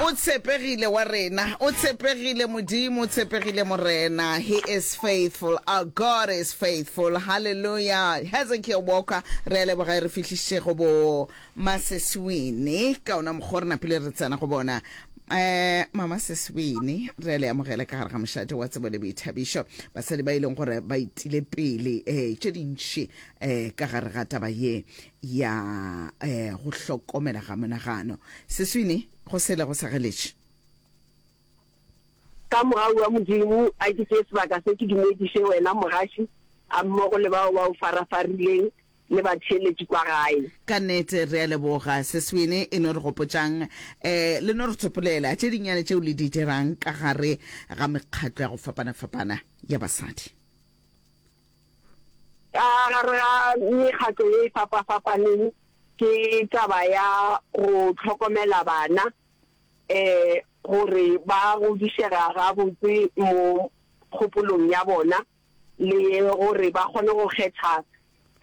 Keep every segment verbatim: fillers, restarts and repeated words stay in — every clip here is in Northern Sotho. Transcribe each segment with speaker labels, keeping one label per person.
Speaker 1: O tshepegile wa rena, o tshepegile Modimo, o tshepegile Morena. He is faithful. Our God is faithful. Hallelujah. Hezekiah Walker, re a leboga e re fihlišitše go bo Maseswini. Ka ona mokgwa re napile re tsena go bona. Eh, Mama Seswini, re a le amogela ka gare ga mošate wa tsebo le boithabišo. Basadi ba e leng gore ba itile pele eh, tše dintši eh, ka gare ga taba ye ya eh, go hlokomela ga monagano. Seswini, go sele go sa geletše.
Speaker 2: Ka mogau wa Modimo, a ke tšee sebaka se ke dumediše wena mogaši, a mmogo le bao ba o farafarileng le batheeletši kwa gae.
Speaker 1: Ka nnete re a leboga. Seswini, e no re gopotšang eh, le no re tsopolela tše dinnyane tšeo le di dirang ka gare ga mekgatlo ya go fapana-fapana ya basadi.
Speaker 2: Ka gare ga mekgatlo ye e fapa-fapaneng ke taba ya go hlokomela bana um gore ba godišega gabotse mo kgopolong ya bona le gore ba kgone go kgetha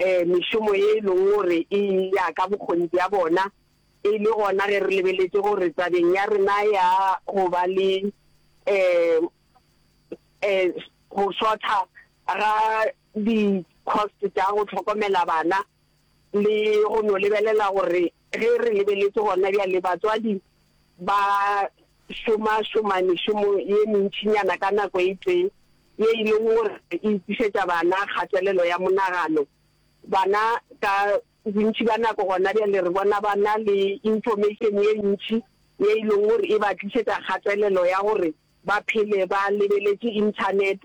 Speaker 2: um mešomo ye e leng gore e ya ka bokgoni bja bona. E le gona ge re lebeletše gore tabeng ya rena ya go ba le um um go shorta ga di-cost tša go hlokomela bana le go no lebelela gore ge re lebeletše gona bjale batswadi ba šoma-šoma mešomo ye mentšinyana ka nako e tee ye e leng gore e tlišetša bana kgatelelo ya monagano. Bana ka bontši ba nako gona bjale re bona ba na le information ye ntši ye e leng gore e ba tlišetša kgatelelo ya gore ba phele ba lebeletše internet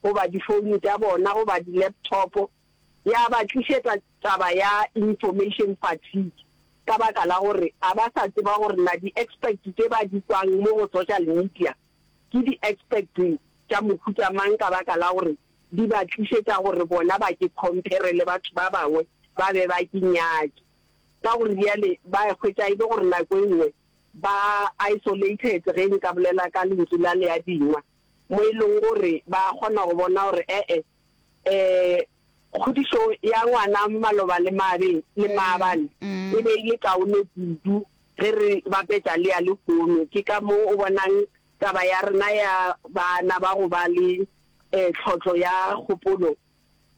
Speaker 2: goba difounu tša bona goba di-laptop, ya ba tlišetša taba ya information fatigue ka baka la gore a ba sa tseba gore na di-expert tše ba di kwang mo go social media ke di-expert tša mohuta mang, ka baka la gore di ba tlišetša gore bona ba ke compare le batho ba bangwe ba be ba ke nyake. Ka gore bjale ba hwetša e le gore nako e nngwe ba isolated, ge nka bolela ka lentšu la leadingwa, mo e leng gore ba kgona go bona gore ee um kgodišo ya ngwana maloba le mabe le maabane e be e le kaone kudu ge re bapetša le ya lehono. Ke ka mo o bonang taba ya rena ya bana ba go ba le um tlhotlo ya kgopolo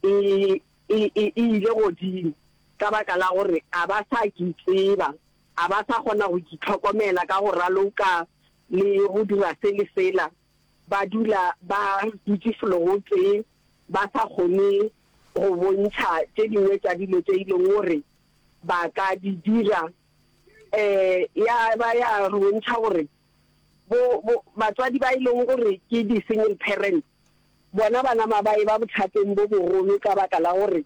Speaker 2: e e e ile godimo, ka baka la gore a ba sa ke tseba, a ba sa kgona go itlhokomela ka go raloka le go dira se le sela. Ba dula ba dutše felo go tee, ba sa kgone go bontšha tše dingwe tša dilo tše e leng gore ba ka di dira. Um ya ba ya re bontšha gore bo bo batswadi ba e leng gore ke di-single parents, bona bana ba e ba bothateng bo bogolo, ka baka la gore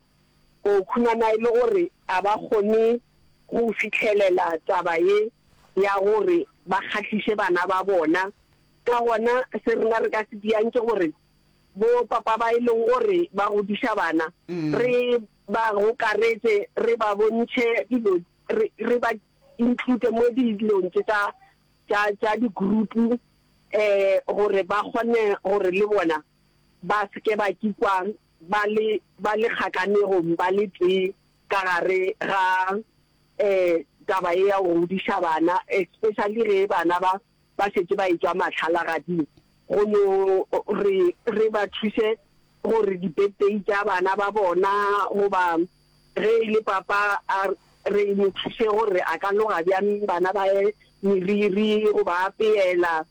Speaker 2: o khumana e le gore a ba kgone go fihlelela taba ye ya gore ba kgahliše bana ba bona. Ka gona se rena re ka se diang ke gore bo papa ba e leng gore ba godiša bana, re ba gokaretse, re ba bontšhe dilo, re re ba include mo dilong tše tša tša tša di-group um gore ba kgone gore le bona ba se ke ba kikwa ba le ba le kgakanegong ba le tee ka gare ga um taba ye ya go godiša bana, especially ge bana ba ba šetše ba etšwa mahlalagading. Go no re re ba thuše gore di-birthday tša bana ba bona, goba ge e le papa a re mo thuše gore a ka loga bjang bana ba ye meriri, goba apeela,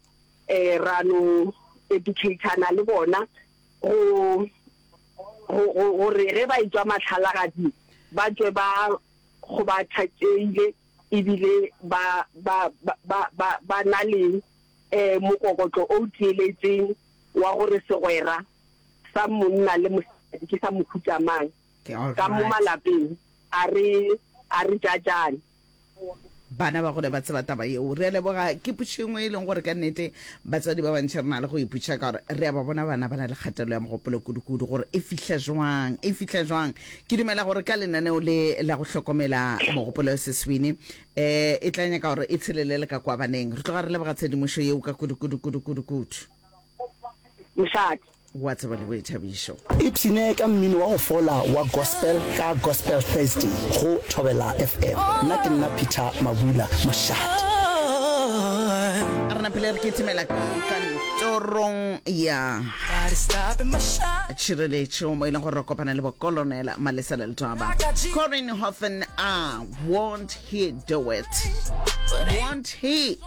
Speaker 2: um ra no educatana le bona go gore ge ba etšwa mahlalagading ba tšwe ba go ba thatšeile ebile ba ba ba ba ba na le um mokokotlo o tieletšeng wa gore segwera sa monna le mosadi ke sa mohuta mang. Ka mo malapeng a re a re jajane.
Speaker 1: Bana ba gole ba tseba taba yeo. Re a leboga. Ke potšišo e nngwe e leng gore ka nnete batswadi ba bantši re na le go ipotšiša, ka gore re a ba bona bana ba na le kgatelelo ya mogopolo kudu-kudu, gore e fihla jwang, e fihla jwang. Ke dumela gore ka lenaneo le la go hlokomela mogopolo Seswini um e tla nyaka gore e tshelele le ka kwa baneng. Re tloga re leboga tshedimošo yeo ka kudu-kudu kudu-kudu kudu.
Speaker 2: Mošate.
Speaker 1: Wa tseba le boithabišo.
Speaker 3: Ipshine ka mmino wa go fola wa gospel ka Gospel Thursday go Thobela F M. Nna ke nna Peter Mabula. Mošate.
Speaker 1: Napile re kitimela kantorong ya tšhireletšo mo e leng gore re kopana le bokolonela Malesela Letwaba. Corinne Houghton, ah, won't he do it? Won't he?